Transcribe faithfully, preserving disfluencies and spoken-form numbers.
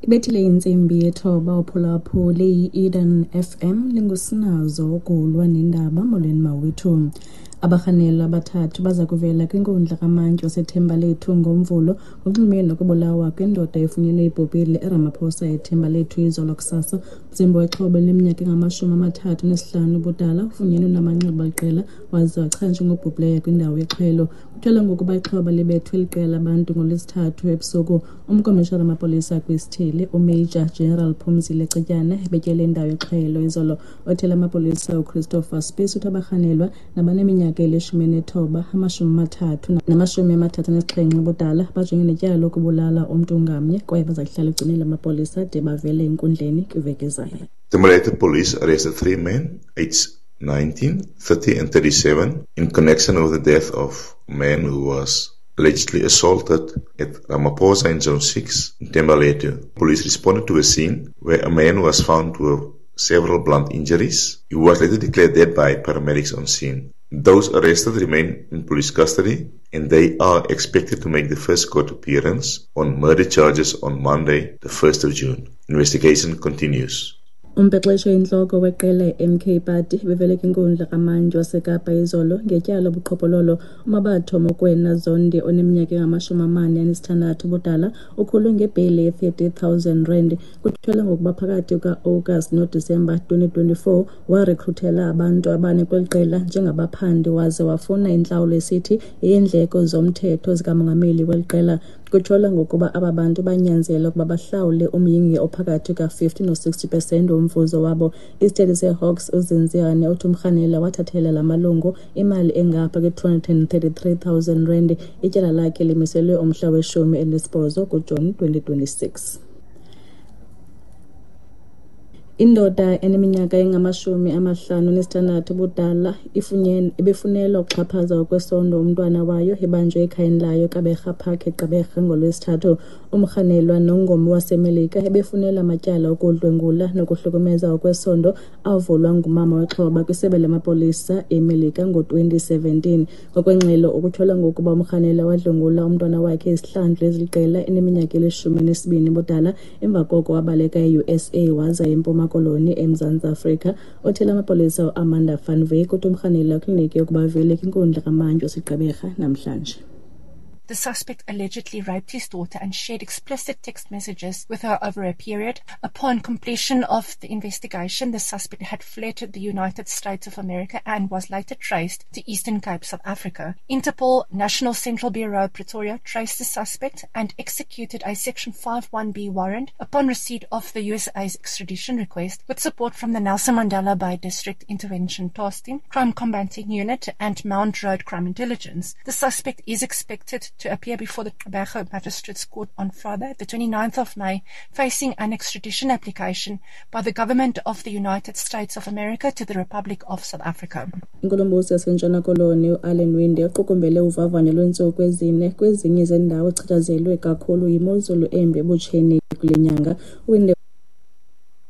Ibethile intsimbi yethoba uphulaphuli i-Eden F M lingusinazo ukulwa nendaba. Molweni mawethu. Abarhanelwa abathathu baza kuvela kwinkundla kamantyi waseThembalethu ngoMvulo ngokunxulumene nokubulawa kwindoda efunyenwe ibhubhile eRamaphosa eThembalethu izolo kusasa. Umzimba wexhoba elineminyaka engamashumi amathathu nesihlanu ubudala ufunyenwe namanxeba aliqela waze wachazwa njengobhubhileyo kwindawo yexhwelo. Kutyholwa ngokuba ixhoba libethwe liqela labantu ngoLwesithathu ebusuku. Umkomishana wamapolisa kwisithili uMajor General Phumzile Cetyana ebetyele indawo yexhwelo izolo. Othela amapolisa uChristopher Spies uthi abarhanelwa nabaneminyaka elishumi nethoba, amashumi amathathu namashumi amathathu anesixhenxe ubudala bajongene netyala lokubulala umntu ngamnye kwaye baza kuhlala egcinile amapolisa de bavele enkundleni kwiveki ezayo. Thembalethu police arrested three men, aged nineteen, thirty and thirty-seven, in connection with the death of a man who was allegedly assaulted at Ramaphosa in Zone six in Thembalethu. Police responded to a scene where a man was found with several blunt injuries. He was later declared dead by paramedics on scene. Those arrested remain in police custody and they are expected to make the first court appearance on murder charges on Monday, the first of June. Investigation continues. Umbhexeshi oyintloko weqela i-M K Party bevele kwinkundla kamantyi waseKapa izolo ngetyala lobuqhophololo. UMabatho Mokoena Zondi oneminyaka engamashumi amane anesithandathu ubudala ukhulwe ngebheyile ye-thirty thousand rand. Kutyholwa ngokuba phakathi kuka-August noDisemba twenty twenty-four warekruthela abantu abane kweli qela njengabaphandi waze wafuna intlawulo esithi yeendleko zomthetho zikamongameli weli qela. Kutyholwa ngokuba aba bantu banyanzelwa ukuba bahlawule umyinge ophakathi kuka-fifty no-sixty percent womvuzo wabo. Isithethi seHawks uZinziane uthi umrhanelwa wathathela la malungu imali engapha kwe-two hundred and thirty-three thousand rand. Ityala lakhe limiselwe umhla weshumi elinesibhozo kuJuni twenty twenty-six. Indoda eneminyaka engamashumi amahlanu nesithandathu ubudala ibefunelwa ukuxhaphaza ngokwesondo umntwana wayo ibanjwe ekhayeni layo kaBerha Park eGqeberha ngoLwesithathu. Umrhanelwa nongomi waseMelika ebefunelwa amatyala okudlwengula nokuhlukumeza ngokwesondo avulwa ngumama wexhoba kwisebe lamapolisa eMelika ngo-twenty seventeen. Ngokwengxelo ukutyholwa ngokuba umrhanelwa wadlwengula umntwana wakhe izihlandlo eziliqela eneminyaka elishumi elinesibini ubudala, emva koko wabaleka e-U S A waza eMpuma Koloni eMzantsi Afrika. Othela amapolisa uAmanda van Wyk uthi umrhanelwa kliniki yokuba avele kwinkundla kamantyi waseGqeberha namhlanje. The suspect allegedly raped his daughter and shared explicit text messages with her over a period. Upon completion of the investigation, the suspect had fled to the United States of America and was later traced to Eastern Cape, South Africa. Interpol National Central Bureau Pretoria traced the suspect and executed a Section five one B warrant upon receipt of the U S A's extradition request, with support from the Nelson Mandela Bay District Intervention Task Team, Crime Combating Unit and Mount Road Crime Intelligence. The suspect is expected to appear before the Gqeberha Magistrates Court on Friday, the twenty-ninth of May, facing an extradition application by the government of the United States of America to the Republic of South Africa. Inkulumbuso yaseNtshona Koloni uAllan Winde uqukumbele uvavanyo lweentsuku ezine kwezinye zeendawo ezichatshazelwe kakhulu yimozulu embi ebutsheni kule nyanga. Winde